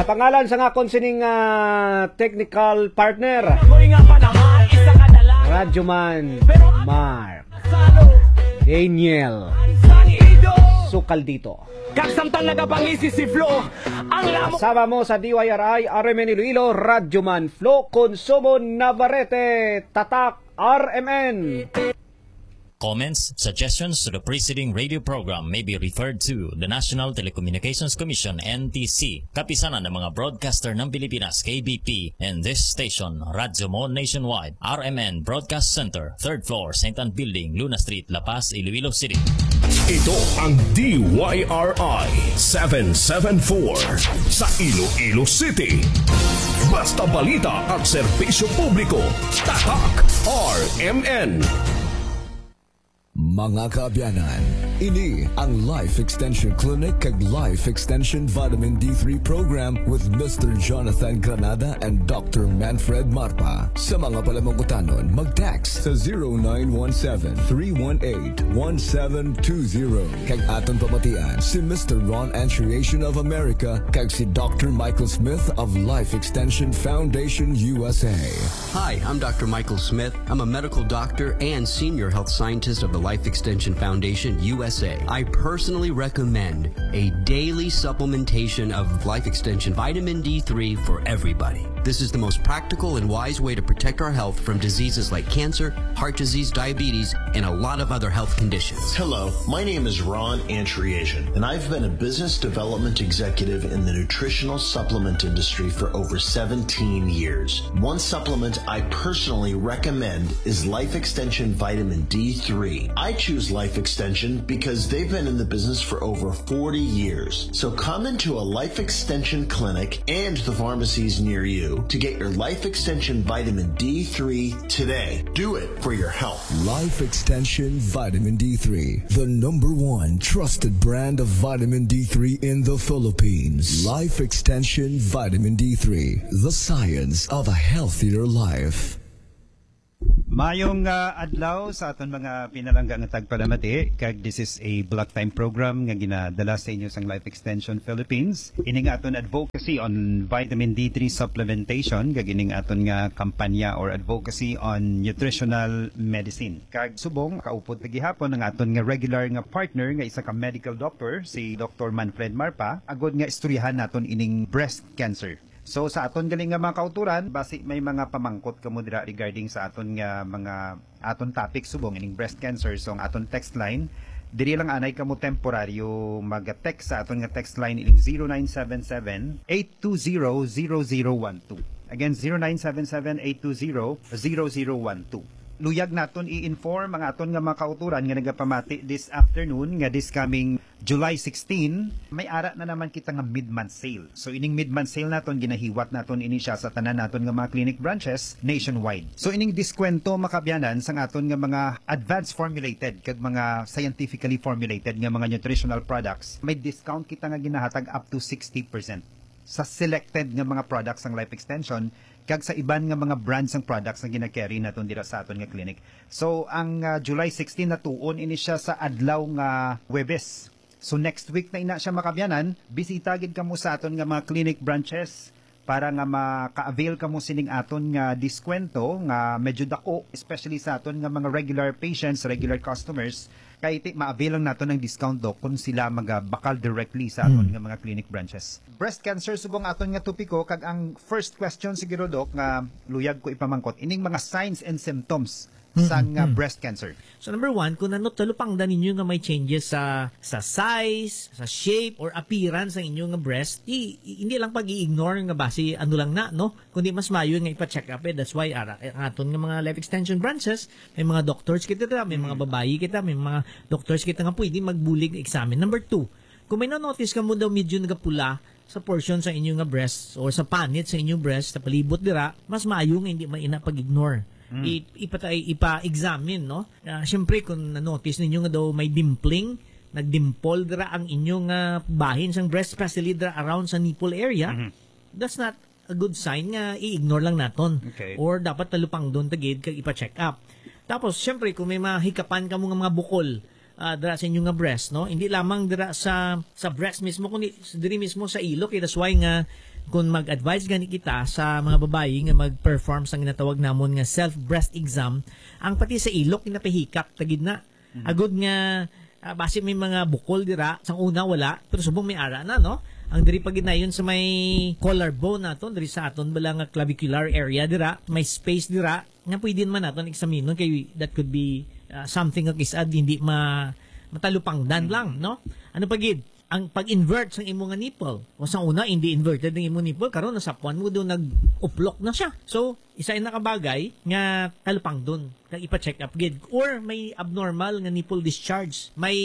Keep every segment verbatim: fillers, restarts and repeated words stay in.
Pangalan sang akon sining, ah, technical partner, Ako'y nga panahal, isa ka na lang. Radyoman Mark Daniel Sanido. Sukal dito. Kag samtang nagapangisi si Flo, ang lamok. Kasama mo sa D Y R I, R M N Iloilo, Radyoman Flo Consumo Navarrete, Tatak R M N. Comments, suggestions to the preceding radio program may be referred to the National Telecommunications Commission, N T C, Kapisanan ng mga Broadcaster ng Pilipinas, K B P, and this station, Radyo Mo Nationwide, R M N Broadcast Center, third floor, Saint Ann Building, Luna Street, La Paz, Iloilo City. Ito ang D Y R I seven seven four sa Iloilo City. Basta balita at serbisyo publiko, Tatak R M N. Mga kaabyanan, ini ang Life Extension Clinic kag Life Extension Vitamin D three Program with Mister Jonathan Granada and Doctor Manfred Marpa. Sa mga palamangkutanon, mag-text sa zero nine one seven, three one eight, one seven two zero. Kag aton pamatian si Mister Ron Antriation of America kag si Doctor Michael Smith of Life Extension Foundation U S A. Hi, I'm Doctor Michael Smith. I'm a medical doctor and senior health scientist of the Life Extension Foundation U S A. I personally recommend a daily supplementation of Life Extension vitamin D three for everybody. This is the most practical and wise way to protect our health from diseases like cancer, heart disease, diabetes, and a lot of other health conditions. Hello, my name is Ron Antriation, and I've been a business development executive in the nutritional supplement industry for over seventeen years. One supplement I personally recommend is Life Extension Vitamin D three. I choose Life Extension because they've been in the business for over forty years. So come into a Life Extension clinic and the pharmacies near you to get your Life Extension Vitamin D three today. Do it for your health. Life Extension Vitamin D three, the number one trusted brand of vitamin D three in the Philippines. Life Extension Vitamin D three, the science of a healthier life. Mayong, ah, adlaw sa aton mga pinalangga nga tagpalamati, kag this is a block time program nga ginadala sa inyo sang Life Extension Philippines. Ini nga aton advocacy on vitamin D three supplementation, kag ining aton nga kampanya or advocacy on nutritional medicine. Kag subong, kaupod ta gihapon ang aton nga regular nga partner nga isa ka medical doctor, si Doctor Manfred Marpa, agod nga istoryahan naton ining breast cancer. So, sa aton gali nga mga kauturan, basi may mga pamangkot kamo dira regarding sa aton nga mga, aton topic subong ining breast cancer. So, ang aton text line, diri lang anay kamo temporaryo mag-text sa aton nga text line ining zero nine seven seven, eight two zero, zero zero one two. Again, zero nine seven seven, eight two zero, zero zero one two. Luyag naton i-inform ang aton nga mga kauturan nga nagapamati this afternoon nga this coming July sixteen, may ara na naman kita nga mid-month sale. So, ining mid-month sale naton, ginahiwat naton ini siya sa tanan naton nga mga clinic branches nationwide. So, ining diskwento, mga kaabyanan, sang aton nga mga advanced formulated kag mga scientifically formulated nga mga nutritional products, may discount kita nga ginahatag up to sixty percent sa selected nga mga products sang Life Extension kag sa iban nga mga brands sang products nga gina-carry naton dira sa aton nga clinic. So, ang, ah, July sixteen natuon ini siya sa adlaw nga Huwebes. So, next week na ina siya, mga kaabyanan. Bisita gid kamo sa aton nga mga clinic branches para nga maka-avail kamo sining aton nga diskwento nga medyo dako, especially sa aton nga mga regular patients, regular customers. Kay ti, ma-avail lang naton ang discount, Doc, kung sila magabakal directly sa aton Mm. nga mga clinic branches. Breast cancer, subong aton nga topiko, kag ang first question siguro, Doc, nga luyag ko ipamangkot, ining mga signs and symptoms Mm, sang, mm, ah, mm. breast cancer. So, number one, kung ano talupangdan ninyo nga may changes sa, sa size, sa shape, or appearance ang inyo nga breast, i-, i-, hindi lang pag-i-ignore nga basi ano lang na, no? Kundi mas maayo nga ipa-check up, eh. That's why, ara, eh, ang aton nga mga life extension branches, may mga doctors kita dira, may mga Mm. babayi kita, may mga doctors kita nga pwede magbulig examine. Number two, kung may na-notice ka mo daw medyo nagapula sa portion sa inyo nga breast or sa panit sa inyo breast, sa palibot dira, mas maayo nga hindi maina pag-ignore. Mm. I-, ipatay, ipa-examine, no? Ah, siyempre, kung na-notice ninyo nga daw may dimpling, nagdimple dira ang inyo nga bahin sang breast, especially dira around sa nipple area, Mhm. that's not a good sign nga i-ignore lang naton. Okay. Or dapat talupangdon ta gid kag ipa-check up. Tapos, siyempre, kung may mahikapan kamo nga mga bukol, ah, dira sa inyo nga breast, no? Hindi lamang dira sa, sa breast mismo, kundi s-, diri mismo sa ilok. Eh, that's why nga Kung mag-advise gani kita sa mga babayi nga mag-perform sa ginatawag namon nga self-breast exam, ang pati sa ilok, ginapahikap ta gid na. Mhm. Agud nga, ah, basi may mga bukol dira, sang una wala, pero subong may ara na, no? Ang diri pa ginayon sa may collarbone naton, diri sa aton bala nga clavicular area dira, may space dira, nga pwede naman naton eksaminon kay that could be, ah, something nga kis-a hindi ma-, matalupangdan Mhm. lang, no? Ano pa gid? Ang pag-invert sang imo nga nipple. O sa una, hindi inverted ang imo nipple, karon nasapuan mo doon, nag-uplok na siya. So, isa ina ka bagay nga talupangdon, kag ipa-check up gid. Or may abnormal nga nipple discharge. May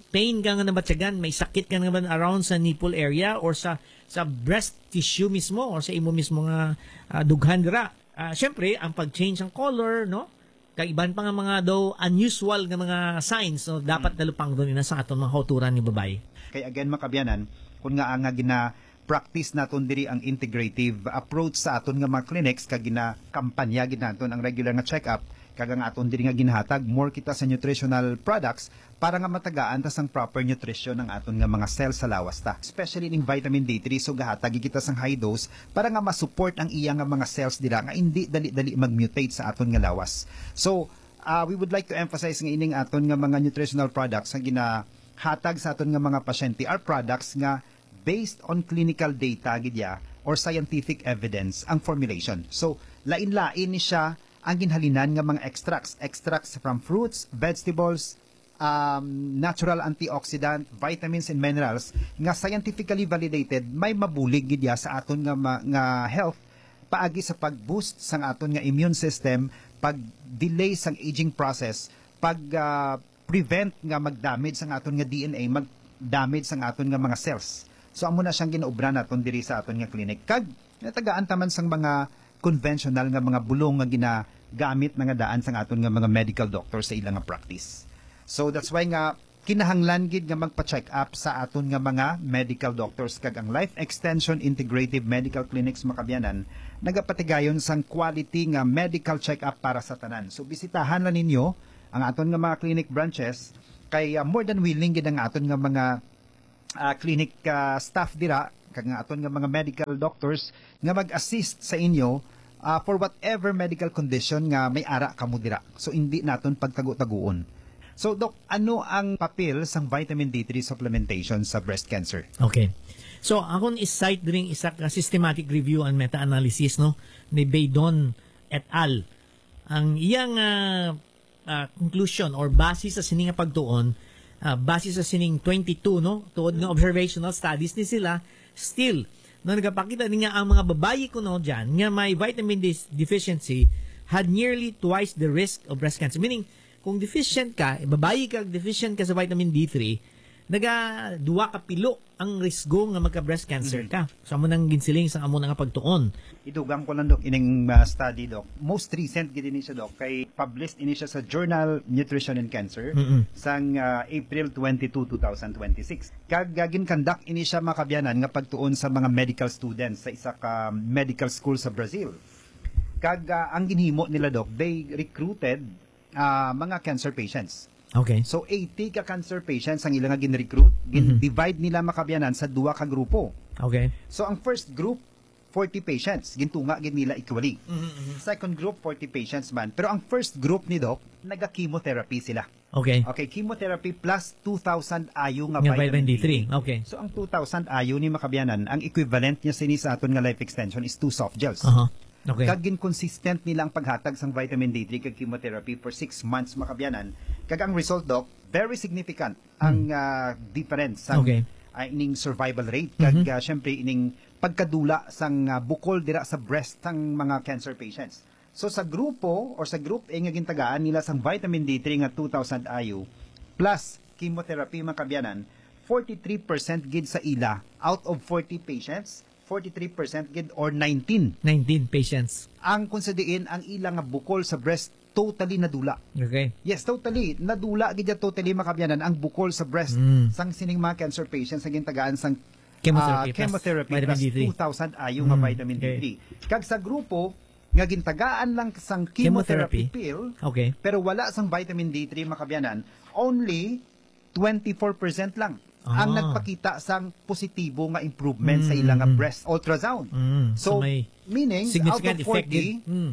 pain ka nga nabatyagan, may sakit ka nga naman around sa nipple area or sa, sa breast tissue mismo or sa imo mismo nga, ah, dughan dira. Ah, syempre, ang pag-change ang color, no? Kag iban pa nga mga daw unusual nga mga signs, no, dapat Mm. talupangdon ina sa aton mga kauturan ni babayi. Kay again, mga kabyanan, kun nga ang nga gina-practice naton diri ang integrative approach sa aton nga mga clinics, kag ginakampanya gid naton ang regular nga check-up, kag ang aton diri nga ginahatag, more kita sa nutritional products para nga matagaan ta sang proper nutrition ang aton nga mga cells sa lawas ta. Especially ning vitamin D three, so gahatag kita sang high dose para nga ma-support ang iya nga mga cells dira nga hindi dali-dali mag-mutate sa aton nga lawas. So, ah, we would like to emphasize nga ining aton nga mga nutritional products nga ginahatag sa aton nga mga pasyente are products nga based on clinical data gid ya or scientific evidence ang formulation. So, lain-lain ni siya ang ginhalinan nga mga extracts, extracts from fruits, vegetables, um, natural antioxidant, vitamins and minerals nga scientifically validated, may mabulig gid ya sa aton nga ma-, nga health paagi sa pag-boost sang aton nga immune system, pag-delay sang aging process, pag, ah, prevent nga mag-damage sang aton nga D N A, mag-damage sang aton nga mga cells. So, amo na siyang ginaobra naton diri sa aton nga clinic. Kag natagaan ta man sang mga conventional nga mga bulong nga ginagamit na nga daan sang aton nga mga medical doctor sa ila nga practice. So, that's why nga kinahanglan gid nga magpa-check up sa aton nga mga medical doctors, kag ang Life Extension Integrative Medical Clinics, mga kabyanan, nagapatigayon sang quality nga medical check up para sa tanan. So, bisitahan lang ninyo ang aton nga mga clinic branches, kay, ah, more than willing gid ang aton nga mga, ah, clinic, ah, staff dira, kag nga aton nga mga medical doctors nga mag-assist sa inyo, ah, for whatever medical condition nga may ara kamo dira. So, hindi naton pagtago-taguon. So, Doc, ano ang papel sang vitamin D three supplementation sa breast cancer? Okay. So, akon i-cite diri isa ka systematic review and meta-analysis, no, ni Baydon et al. Ang iyang, ah, ah, conclusion or base sa sini nga pagtuon, ah, base sa sining twenty-two, no, tuod nga observational studies ni sila, still, no, nagapakita ni nga ang mga babayi kuno dyan nga may vitamin D deficiency had nearly twice the risk of breast cancer. Meaning, kung deficient ka, babayi ka, deficient ka sa vitamin D three, naga duwa ka pilo ang risgo nga magka-breast cancer Mhm. ka. So, amo nang ginsiling sa amo na nga pagtuon. Idugang ko lang, Doc, ining, ah, study, Doc. Most recent gid ini siya, Doc, kay published ini siya sa journal Nutrition and Cancer Mm-mm. sang, ah, April twenty-two, two thousand twenty-six. Kag, ah, gin-conduct ini siya, mga kabyanan, nga pagtuon sa mga medical students sa isa ka medical school sa Brazil. Kag, ah, ang ginhimo nila, Doc, they recruited, ah, mga cancer patients. Okay. So, eighty ka cancer patients ang ila nga gin-recruit. Mhm. Gin-divide nila, mga kabyanan, sa duwa ka grupo. Okay. So, ang first group, forty patients. Gintunga gid nila equally. Mhm, mhm. Second group, forty patients man. Pero ang first group ni Doc, naga-chemotherapy sila. Okay. Okay, chemotherapy plus two thousand I U nga Nga vitamin vitamin D three. D three. Okay. So, ang two thousand I U ni, mga kabyanan, ang equivalent niya sini sa aton nga life extension is two soft gels. Aha. Okay. Kag gin-consistent nila ang paghatag sang vitamin D three kag chemotherapy for six months, mga kabyanan. Kag ang result, Doc, very significant ang, Hmm. ah, difference sang, Okay. ah, ining survival rate kag, Mhm. ah, syempre, ining pagkadula sang, ah, bukol dira sa breast sang mga cancer patients. So, sa grupo or sa group A nga gintagaan nila sang vitamin D three nga two thousand I U plus chemotherapy, mga kabyanan, forty-three percent gid sa ila out of forty patients, forty-three percent gid or nineteen. Nineteen patients. Ang kung sa diin ang ila nga bukol sa breast totally nadula. Okay. Yes, totally. Nadula gid ya totally, mga kabyanan, ang bukol sa breast Mm. sang sining mga cancer patients nga gintagaan sang, Chemotherapy ah, plus chemotherapy vitamin plus D three. two thousand I U nga Mm. vitamin Okay. D three. Kag sa grupo nga gintagaan lang sang chemotherapy Chemotherapy. pill, Okay. pero wala sang vitamin D three, mga kabyanan, only twenty-four percent lang. ang Ah. nagpakita sang positibo nga improvement sa Mm, ila nga mm. breast ultrasound. Mm, so So, may meaning, out significant of effect forty, yun. Mm.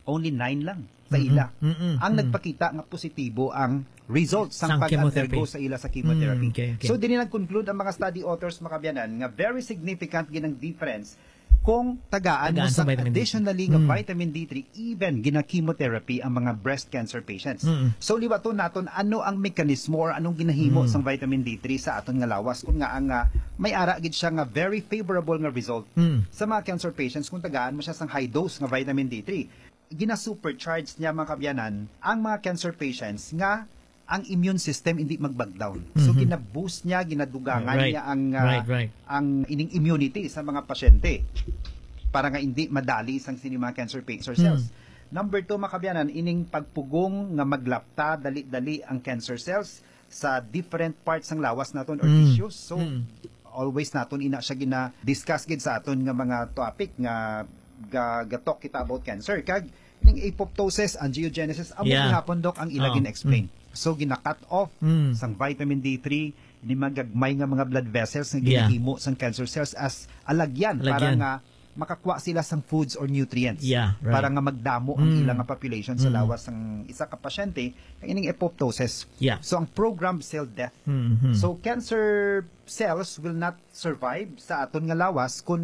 only nine lang sa Mm-mm, ila mm-mm, ang mm. nagpakita nga positibo ang result sang Sang pag-undergo chemotherapy. sa ila sa chemotherapy. Mm, okay, okay. So, diri nag-conclude ang mga study authors, mga kabyanan, nga very significant gid ang difference kung tagaan mo Tagaan sa sang vitamin D three. additionally nga Mm. vitamin D three, even ginachemotherapy ang mga breast cancer patients. Mm. So, liwaton naton ano ang mekanismo or anong ginahimo Mm. sang vitamin D three sa aton nga lawas, kung nga ang, ah, may ara gid siya nga very favorable nga result Mm. sa mga cancer patients kung tagaan mo siya sang high dose nga vitamin D three. Gina-supercharge niya, mga kabyanan, ang mga cancer patients nga ang immune system hindi mag-back down. So, Mhm. gina-boost niya, ginadugangan Right. niya ang, ah, Right, right. ang ining immunity sa mga pasyente para nga hindi madali sang sini mga cancer pa-, cancer cells. Hmm. Number two, mga kabyanan, ining pagpugong nga maglapta dali-dali ang cancer cells sa different parts sang lawas naton or Mm. tissues. So, Mm. always naton ina siya gina-discuss gid sa aton nga mga topic nga ga-, ga-talk kita about cancer. Kag ning apoptosis, angiogenesis, amo Yeah. gihapon, Doc, ang ila Oh, gina-explain. mm. So, gina-cut off Mm. sang vitamin D three, ni magagmay nga mga blood vessels nga Yeah. ginahimo sang cancer cells as alagyan, para Alagyan. nga makakuha sila sang foods or nutrients. Yeah, right. Para nga magdamo ang Mm. ila nga population sa Mm. lawas sang isa ka pasyente, ang ining apoptosis. Yeah. So, ang programmed cell death. Mm-hmm. So, cancer cells will not survive sa aton nga lawas kung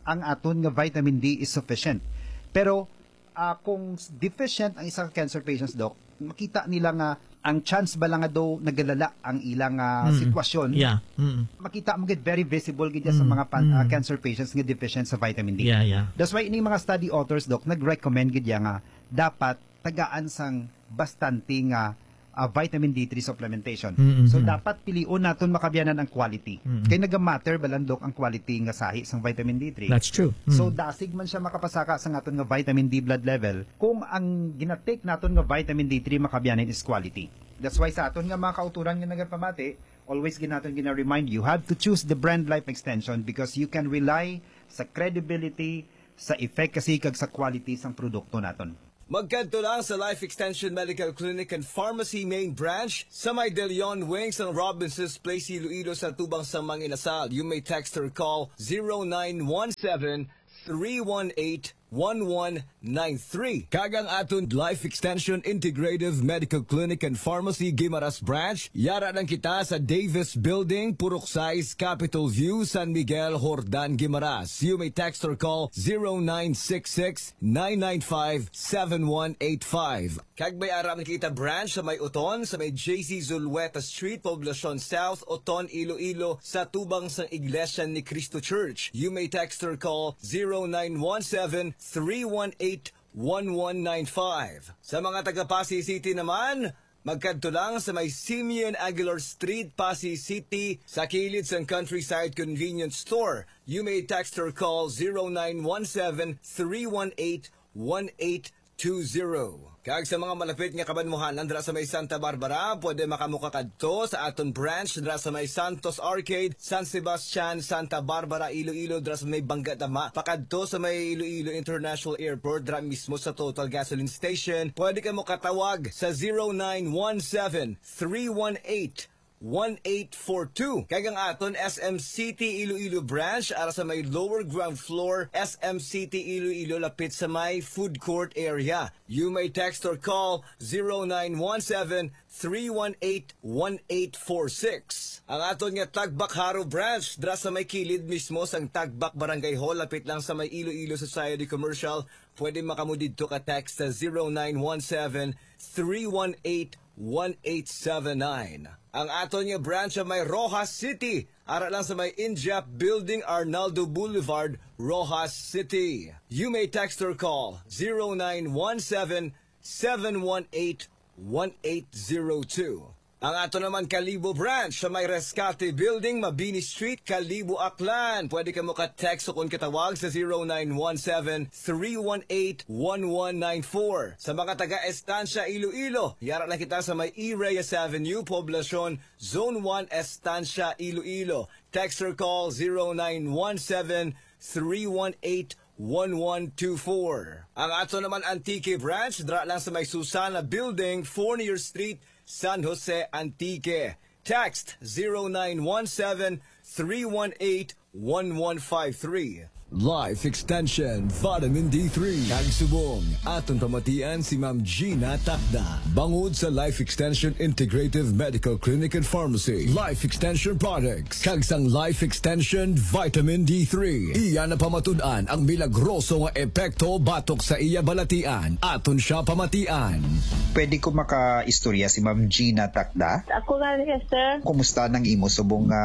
ang aton nga vitamin D is sufficient. Pero, ah, kung s-, deficient ang isa ka cancer patients, Doc, makita nila nga ang chance bala nga daw nagalala ang ilang, ah, Mm. sitwasyon. Yeah. Mm. Makita mo gid, very visible gid sa Mm. mga pan-, ah, Mm. cancer patients nga deficient sa vitamin D. Yeah, yeah. That's why ining mga study authors, Doc, nag-recommend gid ya nga dapat tagaan sang bastante nga, ah, vitamin D three supplementation. Mm, mm, So, mm. dapat pilion naton, mga kabyanan, ang quality. Mm. Kay naga-matter bala, Doc, ang quality nga sahi sang vitamin D three. That's true. So, Mm. dasig man siya makapasaka sa aton nga vitamin D blood level kung ang ginatake naton nga vitamin D three, mga kabyanan, is quality. That's why sa aton nga mga kauturan nga nagapamati, always gid naton gina-remind, you have to choose the brand Life Extension because you can rely sa credibility, sa efficacy, kag sa quality sang produkto naton. Magkadto lang sa Life Extension Medical Clinic and Pharmacy Main Branch sa may De Leon Wing sang Robinsons Place, Iloilo, sa tubang sang mga inasal. You may text or call zero nine one seven, three one eight, one one nine three. Kag ang aton Life Extension Integrative Medical Clinic and Pharmacy, Guimaras Branch, yara lang kita sa Davis Building, Purok sais, Capitol View, San Miguel, Jordan, Guimaras. You may text or call zero nine six six, nine nine five, seven one eight five. Kag may ara man kita branch sa may Oton, sa may J C Zulueta Street, Poblacion South, Oton, Iloilo, sa tubang sang Iglesia ni Cristo Church. You may text or call zero nine one seven, three one eight, one one nine five. Sa mga taga Passi City naman, magkadto lang sa may Simeon Aguilar Street, Passi City, sa kilid sang Countryside Convenience Store. You may text or call zero nine one seven, three one eight, one eight two zero. Kag sa mga malapit nga kabanwahanan dira sa may Santa Barbara, pwede makamo kakadto sa aton branch dira sa may Santos Arcade, San Sebastian, Santa Barbara, Iloilo, dira sa may Bangga Dama, pakadto sa may Iloilo International Airport, dira mismo sa Total Gasoline Station. Pwede kamo katawag sa zero nine one seven, three one eight, one eight four two. Kag ang aton S M City Iloilo branch ara sa may lower ground floor, S M City Iloilo, lapit sa may food court area. You may text or call zero nine one seven, three one eight, one eight four six. Ang aton nga Tagbak Jaro branch dira sa may kilid mismo sang Tagbak Barangay Hall, lapit lang sa may Iloilo Society Commercial. Pwede makamo didto ka text sa zero nine one seven, three one eight, one eight seven nine. Ang aton nga branch sa may Roxas City, ara lang sa may Injap Building, Arnaldo Boulevard, Roxas City. You may text or call zero nine one seven, seven one eight, one eight zero two. Ang ato naman Kalibo branch sa may Rescate Building, Mabini Street, Kalibo, Aklan. Pwede kamo ka-text o kon katawag sa zero nine one seven, three one eight, one one nine four. Sa mga taga Estancia, Iloilo, yara lang kita sa may E. Reyes Avenue, Poblacion, Zone one, Estancia, Iloilo. Text or call zero nine one seven, three one eight, one one two four. Ang ato naman Antique branch, dira lang sa may Susana Building, Fournier Street, San Jose, Antique. Text zero nine one seven, three one eight, one one five three. Life Extension Vitamin D three. Kag subong, aton pamatian si Ma'am Gina Takda. Bangod sa Life Extension Integrative Medical Clinic and Pharmacy, Life Extension Products, kag sang Life Extension Vitamin D three. Iya na pamatud-an ang milagroso nga epekto batok sa iya balatian. Aton siya pamatian. Pwede ko makaistorya si Ma'am Gina Takda? Ako nga niya, sir. Kumusta nang imo subong nga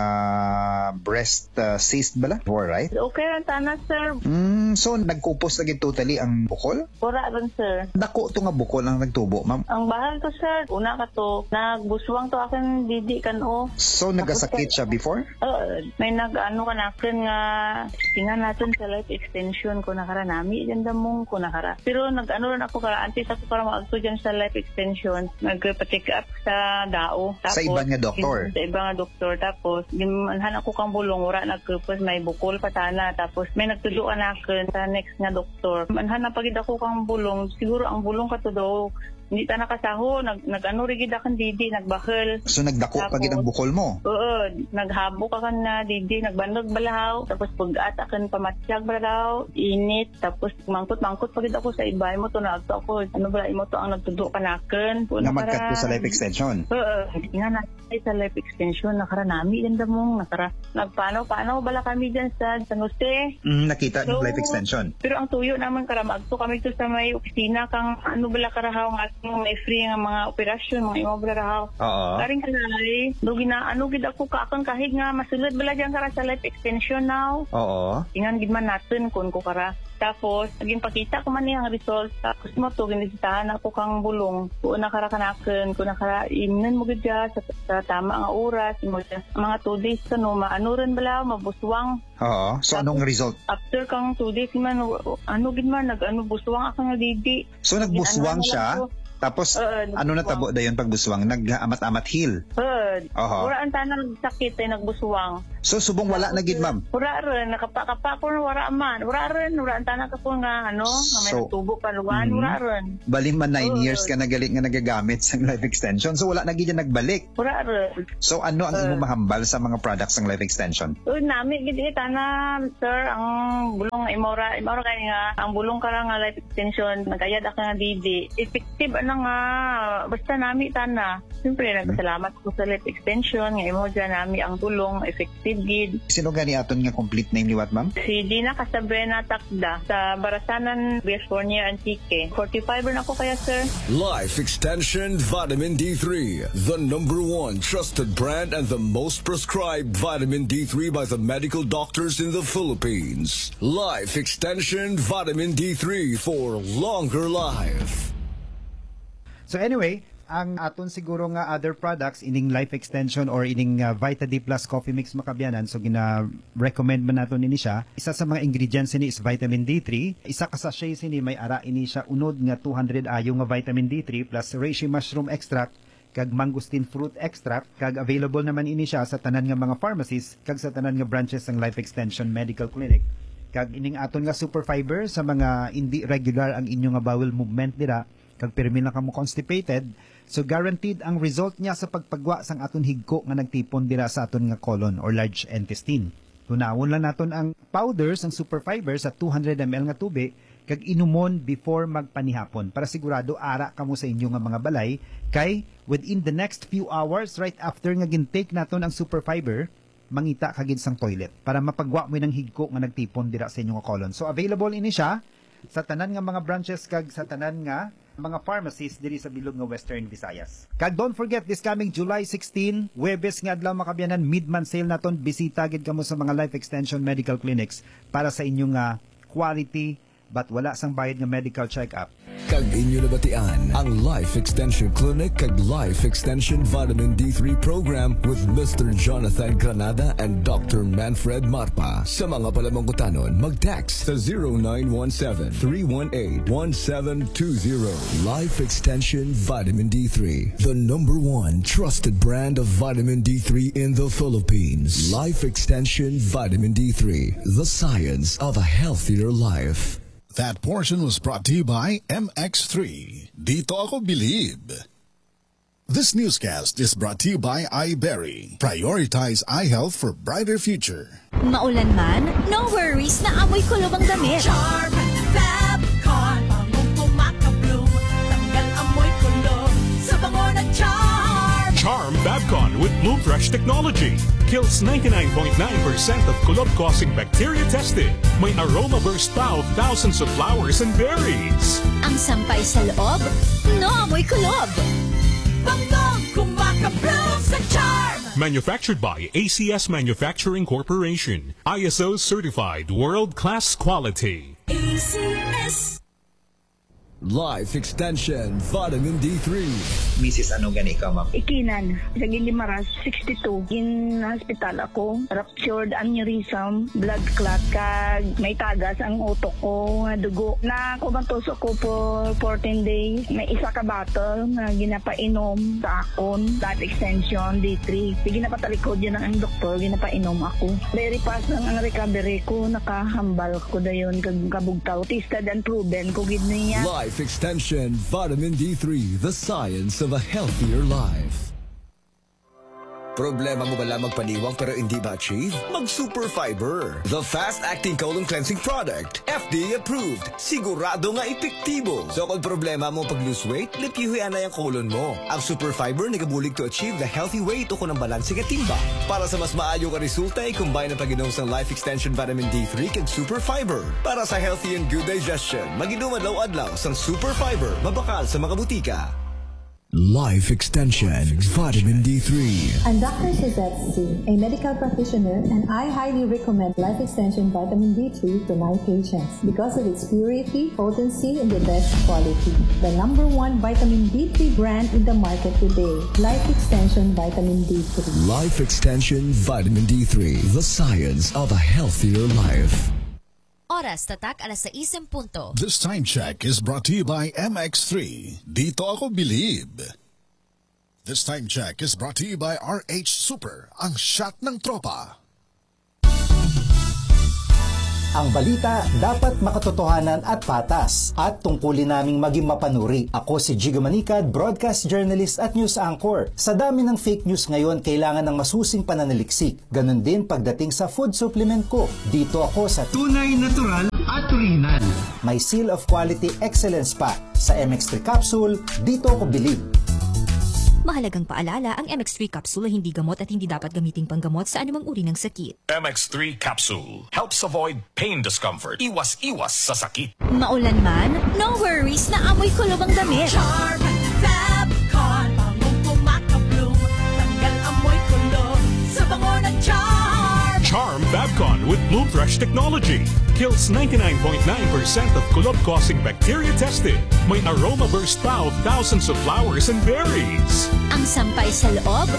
breast, ah, cyst bala? Alright? Okay lang tana, sir. Mm, so nagkupos na gid totally ang bukol? Wala rin, sir. Dako to nga bukol ang nagtubo, ma'am? Ang bahal to, sir. Una ka to, nagbuswang to akin didi kan o. So, tapos nagasakit siya before? Oo, may nag-ano ka na akin nga, tingnan natin sa life extension ko nakaranami, ganda mong ko nakara. Pero nag-ano rin ako kara, antes ako para maagto dyan sa life extension, nagpa-check up sa dao. Sa iban nga doktor? Sa iban nga doktor. Tapos, ginanhan ako kang bulong, wala nagkupos, may bukol pa tana. Tapos, may nagtudo ka na akin sa next nga doktor. Manhan na pagid ako kang bulong. Siguro ang bulong ka to daw, hindi ta nakasaho. Nag, nag-ano rigid akin didi, nagbahal. So, nagdako pagid ang bukol mo? Oo, naghabok akan na didi, nagbanog balahaw. Tapos, pag-at akin pamatyag balahaw, init. Tapos, mangkot-mangkot pagid ako sa iba. Imo to na ako. Ano ba, imo to ang nagtudo ka na akin? Nga magkat ko sa life extension? Oo, nga na. Ay, sa life extension, nakaranami din damong, nakara-, nagpanaw-panaw bala kami dyan sa San Jose. Mm, nakita ang life extension. Pero ang tuyo naman, kara, maagto kami to sa may opisina kang, ano bala, karahaw nga, may free nga mga operasyon, mga imo bala rahaw. Oo. Karing kalay, do gina-, ano gid ako ka, akong kahig nga, masulod bala dyan, kara, sa life extension now. Oo. Ingan gid man natin, kun ko kara. Tapos, ginpakita ko man niya ang result. Tapos mo to, ginbisitahan ako kang bulong. Kung nakara kanakon, kung nakara imnon mo gid siya sa, sa tama nga oras, mo siya, mga two days ka, no, maano rin bala, mabuswang. Oo. So, anong result? After kang two days man, ano gid man, nag-ano, buswang ako nga didi. So, nagbuswang siya? Tapos, ano natabo dayon pag buswang? Nag-amat-amat hil? Oo. Oho. Wala ang tanang sakit ay nagbuswang. So, subong wala na gid, ma'am? Wala rin. Nakapa-kapa ko, wala man. Wala rin. Wala ang tanang ka po nga, ano, nga may nagtubo pa luwan. Wala rin. Bali man, nine years ka na gali nga nagagamit sang life extension. So, wala na gid yan nagbalik. Wala rin. So, ano ang imo mahambal sa mga products sang life extension? Uy, nami gid, eh, tana, sir, ang bulong imora, imora kay nga, ang bulong ka nga life extension, nagayad ako nga didi. Effective, ano nga, basta nami, tana. Siyempre, nagpasalamat ko sa life extension, nga imo dyan nami ang bulong, effective gid. Sino gani aton nga complete name liwat, ma'am? Si Gina Casabrena Takda, sa Barasanan, Bias Borneo, Antique. Forty-five na ako kaya, sir. Life Extension Vitamin D three, the number one trusted brand and the most prescribed vitamin D three by the medical doctors in the Philippines. Life Extension Vitamin D three for longer life. So anyway, ang aton siguro nga other products, ining Life Extension or ining, ah, Vita D Plus Coffee Mix, mga kabyanan, so gina-recommend man naton ini siya. Isa sa mga ingredients ini is vitamin D three. Isa ka sachet sini may ara ini siya unod nga two hundred ayo nga vitamin D three plus reishi mushroom extract kag mangosteen fruit extract, kag available naman ini siya sa tanan nga mga pharmacies kag sa tanan nga branches sang Life Extension Medical Clinic. Kag ining aton nga super fiber sa mga indi regular ang inyo nga bowel movement dira, kag pirmi lang kamo constipated, so guaranteed ang result niya sa pagpagwa sang aton higko nga nagtipon dira sa aton nga colon or large intestine. Tunawon lang naton ang powder sang super fiber sa two hundred M L nga tubi kag inumon before magpanihapon para sigurado ara kamo sa inyo nga mga balay, kay within the next few hours right after nga gintake naton ang super fiber, mangita ka gid sang toilet para mapagwa mo nang higko nga nagtipon dira sa inyo nga colon. So available ini siya sa tanan nga mga branches kag sa tanan nga mga pharmacies diri sa bilog nga Western Visayas. Kag don't forget, this coming July sixteen, Huwebes nga adlaw, mga kabyanan, mid-month sale naton. Bisita gid kamo sa mga Life Extension Medical Clinics para sa inyo nga quality but wala sang bayad nga medical check-up. Kag inyo nabatian ang Life Extension Clinic kag Life Extension Vitamin D three Program with Mister Jonathan Granada and Doctor Manfred Marpa. Sa mga palamangkutanon, mag-text sa zero nine one seven, three one eight, one seven two zero. Life Extension Vitamin D three, the number one trusted brand of vitamin D three in the Philippines. Life Extension Vitamin D three, the science of a healthier life. That portion was brought to you by M X three. Dito ako bilib. This newscast is brought to you by iBerry. Prioritize eye health for brighter future. Maulan man, no worries, naamoy kulob ang damit. Charm Fab Con, bangong kumakabloom, tanggal amoy kulob sa bango ng Charm. Charm Fab Con with Bloom Fresh technology kills ninety-nine point nine percent of kulob-causing bacteria tested. May aroma burst pa of thousands of flowers and berries. Ang sampay sa loob, no amoy kulob. Bangong kumakabloom sa Charm. Manufactured by A C S Manufacturing Corporation. I S O certified world-class quality. A C S. Life Extension Vitamin D three. Misis, ano gani ka, ma'am? Ikinan, sa Guimaras, sixty-two. Gin-hospital ako, ruptured aneurysm, blood clot, kag may tagas ang utok ko nga dugo. Nakumatos ako for fourteen days. May isa ka bottle nga ginapainom sa akon, Life Extension D three. Sige, napatalikod yun ang, ang doktor, ginapainom ako. Very fast lang ang recovery ko, nakahambal ko dayon kag kabugtaw. Tested and proven ko gid niya. Life Extension Vitamin D three, the science of a healthier life. Problema mo bala magpaniwang pero hindi ma-achieve? Mag Super Fiber, the fast-acting colon cleansing product. F D A approved. Sigurado nga epektibo. So, kung problema mo pag-lose weight, limpyuhi anay ang colon mo. Ang Super Fiber nagabulig to achieve the healthy weight o kon ang balanse nga timbang. Para sa mas maayo nga resulta, i-combine ang pag-inom sang Life Extension Vitamin D three kag Super Fiber. Para sa healthy and good digestion, mag-inom adlaw-adlaw sang Super Fiber, mabakal sa mga butika. Life Extension Vitamin D three. I'm Doctor Suzette C, a medical practitioner, and I highly recommend Life Extension Vitamin D three to my patients because of its purity, potency, and the best quality. The number one vitamin D three brand in the market today, Life Extension Vitamin D three. Life Extension Vitamin D three, the science of a healthier life. Oras tatak alas sais en punto. This time check is brought to you by M X three. Dito ako bilib. This time check is brought to you by R H Super, ang shot ng tropa. Ang balita dapat makatotohanan at patas, at tungkulin naming maging mapanuri. Ako si Jigo Manicad, broadcast journalist at news anchor. Sa dami ng fake news ngayon, kailangan ng masusing pananaliksik. Ganun din pagdating sa food supplement ko. Dito ako sa Tunay, natural at original. May seal of quality excellence pa. Sa M X three capsule, dito ako bilib. Mahalagang paalala, ang M X three capsule ay hindi gamot at hindi dapat gamiting panggamot sa anumang uri ng sakit. M X three capsule helps avoid pain discomfort. Iwas-iwas sa sakit. Maulan man, no worries, naamoy kulob ang damit. Charm Fab Con, bangong kumakabloom, tanggal amoy kulob sa bango ng Charm. Charm Fab Con with Bloom Fresh technology kills ninety-nine point nine percent of kulob-causing bacteria tested. May aroma burst pa of thousands of flowers and berries. Ang sampay sa loob,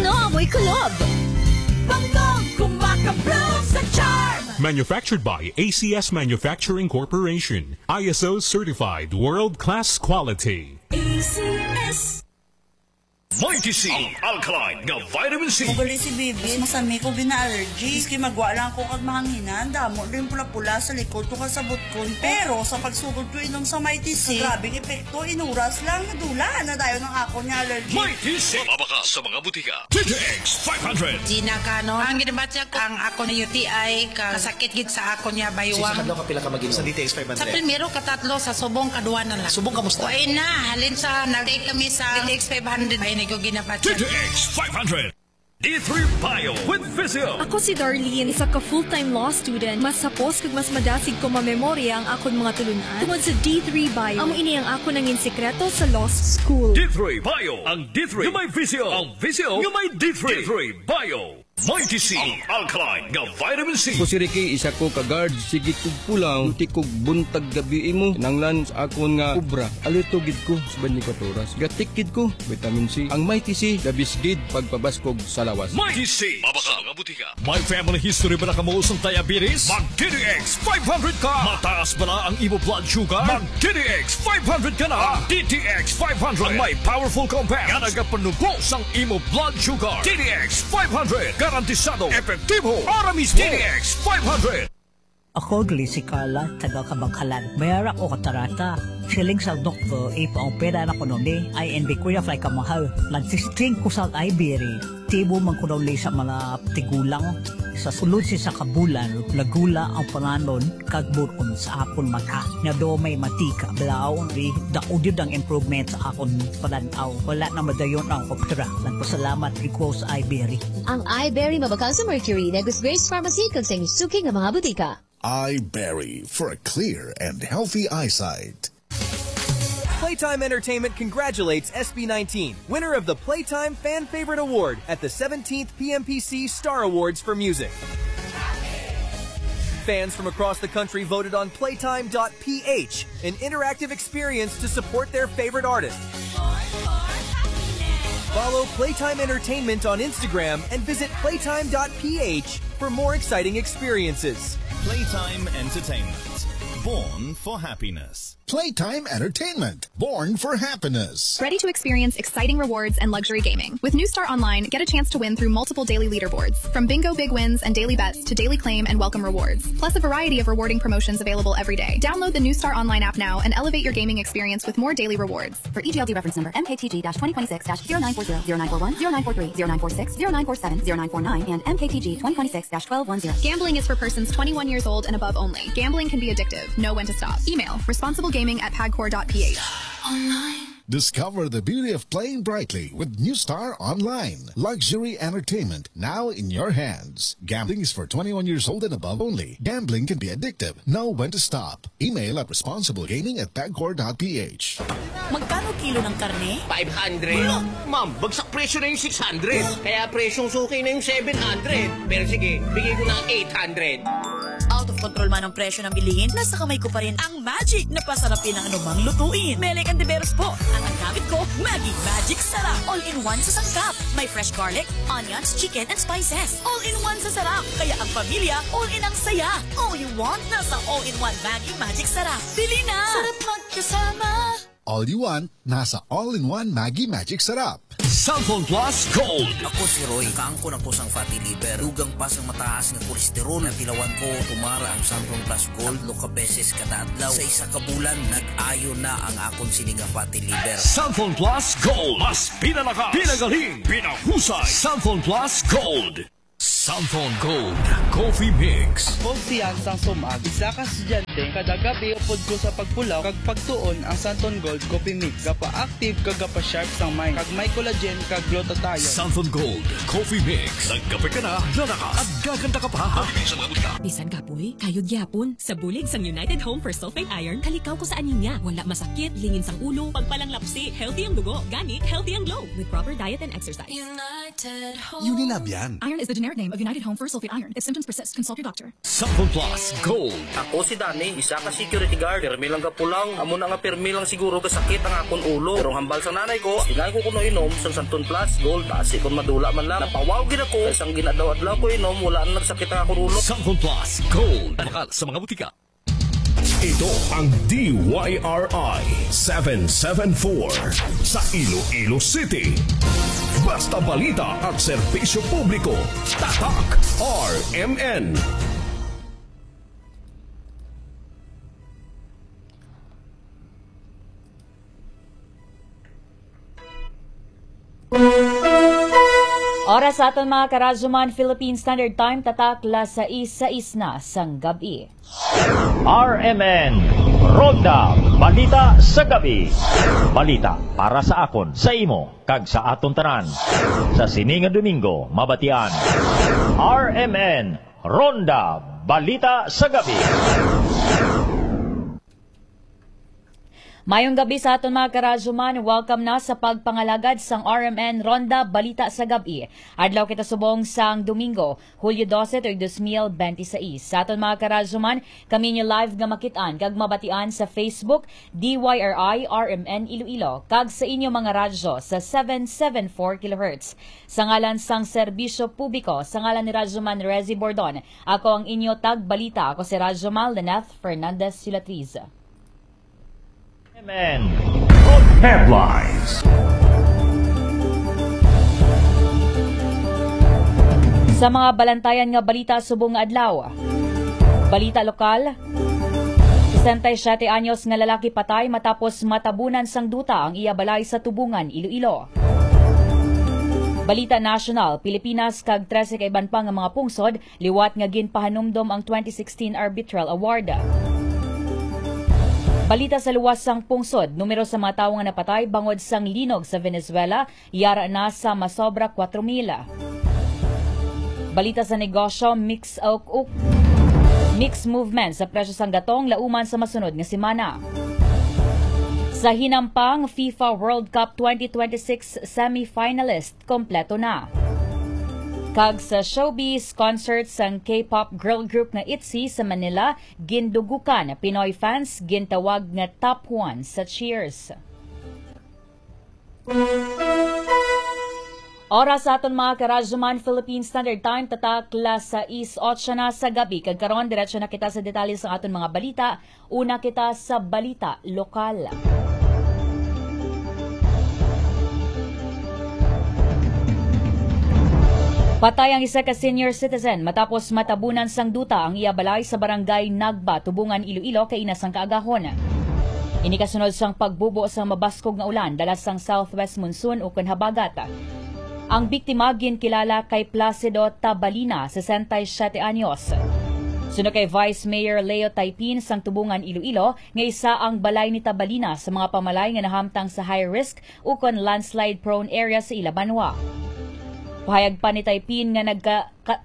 no amoy kulob. Bangong kumakabloom sa Charm. Manufactured by A C S Manufacturing Corporation. I S O certified world-class quality. A C S. Mighty C, ang alkaline nga vitamin C. Magali si Bibi, masami ko gina-allergy. Maski magwa lang ako kag mahanginan, damo din pula-pula sa likod ko kag sa butkon. Pero sa pagsugod ko inom sa Mighty C, grabing epekto, inuras lang, nadula na dayon ang akon nga allergy. Mighty C, mabakal sa mga butika. D T X five hundred. Gina Cano, ang ginabatya ko, ang akon U T I, kasakit gid sa akon nga baywang. Sa kadlaw ka pila ka mag-inom? Sa D T X five hundred. Sa primero, katatlo, sa subong, kadua na lang. Subong, kamusta? Okay na, halin sa nag-take kami sa D T X five hundred, ay, hindi ko ginabatya. D T X five hundred. D three Bio with Vizio. Ako si Darlene, isa ka full-time law student. Mas hapos kag mas madasig ko mamemorya ang akon mga tulunan tungod sa D three Bio. Amo ini ang akon nangin sikreto sa law school. D three Bio, ang D three nga may Vizio, ang Vizio nga may D three. D three Bio. Mighty C, ang alkaline nga vitamin C. Ako si Ricky, isa ko ka guard. Sige kog pulaw, duty kog buntag gabi imo. Kinahanglan sa akon nga obra. Alerto gid ko sa twenty-four oras. Gatik gid ko, vitamin C. Ang Mighty C, the best gid pagpabaskog sa lawas. Mighty C, mabakal sa mga butika. May family history bala kamo sang diabetes? Mag D T X five hundred ka. Mataas bala ang imo blood sugar? Mag D T X five hundred ka na. Ang D T X five hundred ang may powerful compound nga nagapanubo sang imo blood sugar. D T X five hundred, garantisado, epektibo, ara mismo. D T X five hundred. Ako gali si Carla, taga Kabangkalan. Mayara ko katarata. Siling sang doktor, ipaopera na kuno ni. Ay, hindi ko ya fly kamahal. Nagsisting ko sa Ibery. Tibo man ko daw ni sa mga tigulang. Sa sulod sa isa ka bulan, nagula ang panganon kag buron sa akon mata. Nga daw may matika, blaon, di, daog yun ang improvement sa akon panan-aw. Wala na madayon ang opera. Nagpasalamat ko sa Ibery. Ang Ibery mabakal sa Mercury, Negros Grace Pharmacy, kag sa inyong suki nga mga butika. Iberry for a clear and healthy eyesight. Playtime Entertainment congratulates S B nineteen, winner of the Playtime Fan Favorite Award at the seventeenth P M P C Star Awards for Music. Fans from across the country voted on playtime dot P H, an interactive experience to support their favorite artist. Follow Playtime Entertainment on Instagram and visit playtime dot P H for more exciting experiences. Playtime Entertainment. Born for happiness. Playtime Entertainment. Born for happiness. Ready to experience exciting rewards and luxury gaming? With New Star Online, get a chance to win through multiple daily leaderboards, from bingo big wins and daily bets to daily claim and welcome rewards, plus a variety of rewarding promotions available every day. Download the New Star Online app now and elevate your gaming experience with more daily rewards. For E G L D reference number M K T G dash twenty twenty-six dash zero nine four zero, zero nine four one, zero nine four three, zero nine four six, zero nine four seven, zero nine four nine, and M K T G twenty twenty-six dash twelve one zero. Gambling is for persons twenty-one years old and above only. Gambling can be addictive. Know when to stop. Email responsiblegaming at pagcor dot P H. Discover the beauty of playing brightly with New Star Online. Luxury entertainment now in your hands. Gambling is for twenty-one years old and above only. Gambling can be addictive. Know when to stop. Email at responsiblegaming at pagcor dot P H. Magkano kilo ng karne? Five hundred. Wala. Ma'am, bagsak presyo na yung six hundred. Kaya presyong suki na yung seven hundred. Pero sige, bigay ko na ang eight hundred. Out of control man ang presyo ng bilihin, nasa kamay ko pa rin ang magic na pasarapin ang anumang lutuin. Mele Cantiveros po. At ang gamit ko, Maggi Magic Sarap. All-in-one sa sangkap. May fresh garlic, onions, chicken, and spices. All-in-one sa sarap. Kaya ang pamilya, all-in ang saya. All you want, nasa all-in-one Maggi Magic Sarap. Bili na! Sarap magkasama. All you want, nasa all-in-one Maggi Magic Sarap. Santon Plus Gold. Ako si Roy. Nakaangkon ako sang fatty liver. Dugang pa sang mataas nga kolesterol. Natilawan ko, tumara ang Santon Plus Gold. Tatlo ka beses kada adlaw. Sa isa ka bulan, nag-ayo na ang akon sini nga fatty liver. Santon Plus Gold. Mas pinalakas, pinagaling, pinahusay. Santon Plus Gold. Santon Gold Coffee Mix. Ako si Yan sang Sumag, isa ka estudyante. Kada gabi upod ko sa pagpulaw kag pagtuon ang Santon Gold Coffee Mix. Gapa-active kag gapa-sharp sang mind, kag may collagen kag glutathione. Santon Gold Coffee Mix. Nagkape ka na, lalakas, at gaganda ka pa. Mabibili sa mga butika. Bisan kapoy, kayod gyapon. Sa bulig sang United Home for Sulfate Iron, kalikaw ko sa anemia. Wala masakit, lingin sang ulo, pagpalanglapsi, healthy ang dugo, gani healthy ang glow with proper diet and exercise. United Home. Unilab yan. Iron is the generic name of United Home for Sulfate Iron. If symptoms persist, consult your doctor. Santon Plus Gold. Ako si Danny, isa ka security guard. Pirmi lang gapulaw. Amo na nga pirmi lang siguro gasakit ang akon ulo. Pero ang hambal sang nanay ko, ingay ko kuno inom sang Santon Plus Gold. Basi kon madula man lang. Napawaw gid ako. Kay sang gin-adlaw-adlaw ko inom, wala na nagsakit ang akon ulo. Santon Plus Gold. Bakal sa mga butika. Ito ang D Y R I seven seven four sa Iloilo City. Basta balita at serbisyo publiko, Tatak R M N. Oras sa aton, mga karadyoman, Philippine Standard Time, tatak las sais, sais na sang gab-i. R M N Ronda Balita sa Gab-i. Balita para sa akon, sa imo, kag sa aton tanan. Sa sini nga Domingo, mabatian. R M N Ronda Balita sa Gab-i. Mayong gab-i sa aton, mga karadyoman. Welcome na sa pagpangalagad sang R M N Ronda Balita sa Gab-i. Adlaw kita subong sang Domingo, Hulyo dose, tuig dos mil benti sais. Sa aton, mga karadyoman, kami inyo live nga makit-an kag mabatian sa Facebook, D Y R I R M N Iloilo, kag sa inyo mga radyo sa seven seven four kilohertz. Sa ngalan sang serbisyo publiko, sa ngalan ni Radyoman Rezi Bordon, ako ang inyo tagbalita. Ako si Radyoman Lynette Fernandez Sulatriz. M N Headlines. Sa mga balantayan nga balita subong nga adlaw, Balita lokal, sesenta y siete anyos nga lalaki patay matapos matabunan sang duta ang iya balay sa Tubungan, Iloilo. Balita nasyonal, Pilipinas kag trese ka iban pa nga mga pungsod liwat nga ginpahanumdom ang twenty sixteen Arbitral Award. Balita sa luwas sang pungsod, numero sa mga tawo nga napatay bangod sang linog sa Venezuela yara na sa masobra kuwatro mil. Balita sa negosyo, mix, uk, uk, mixed movement sa presyo sang gatong lauman sa masunod nga semana. Sa hinampang, FIFA World Cup twenty twenty-six semifinalist kompleto na. Kag sa showbiz, concert sang K-pop girl group nga ITZY sa Manila, gindugukan, Pinoy fans gintawag nga top one sa cheers. Oras sa aton, mga karadyoman, Philippine Standard Time, tatak las sais otso na sa gabi. Kag karon, diretso na kita sa detalye sa aton mga balita. Una kita sa balita lokal. Patay ang isa ka senior citizen matapos matabunan sang duta ang iya balay sa barangay Nagba, Tubungan, Iloilo, kaina sang kaagahon. Ini kasunod sang pagbubo sang mabaskog nga ulan dala sang southwest monsoon ukon habagat. Ang biktima ginkilala kay Placido Tabalina, sesenta y siete anyos. Suno kay Vice Mayor Leo Taipin sang Tubungan, Iloilo, nga isa ang balay ni Tabalina sa mga pamalay nga nahamtang sa high risk ukon landslide-prone area sa ila banwa. Pahayag pa ni Taipin nga nagka-, ka-,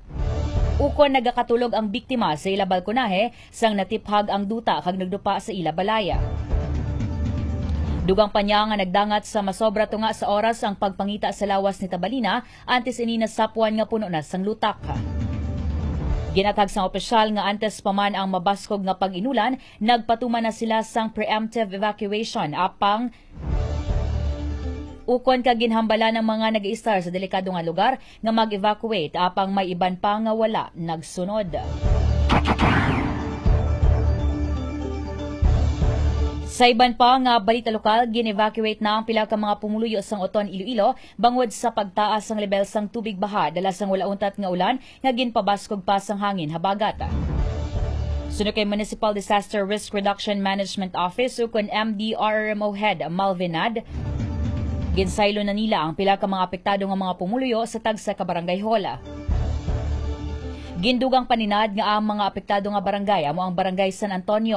ukon nagakatulog ang biktima sa ila balkonahe sang natiphag ang duta kag nagdupa sa ila balay. Dugang pa niya nga nagdangat sa masobra tunga sa oras ang pagpangita sa lawas ni Tabalina antes ini nasapwan nga puno na sang lutak. Ginathag sang opisyal nga antes pa man ang mabaskog nga pag-inulan, nagpatuman na sila sang preemptive evacuation apang ukon ka ginhambala ang mga nag-iistar sa delikado nga lugar nga mag-evacuate apang may iban pa nga wala nagsunod. Sa iban pa nga balita lokal, gin-evacuate na ang pila ka mga pumuluyo sang Oton, Iloilo bangod sa pagtaas sang lebel sang tubig baha dala sang wala untat nga ulan nga ginpabaskog pa sang hangin habagat. Suno kay Municipal Disaster Risk Reduction Management Office ukon M D R R M O Head Malvin Nad, ginsaylo na nila ang pila ka mga apektado nga mga pumuluyo sa tagsa ka barangay hall. Gindugang pa ni Nad nga ang mga apektado nga barangay amo ang Barangay San Antonio,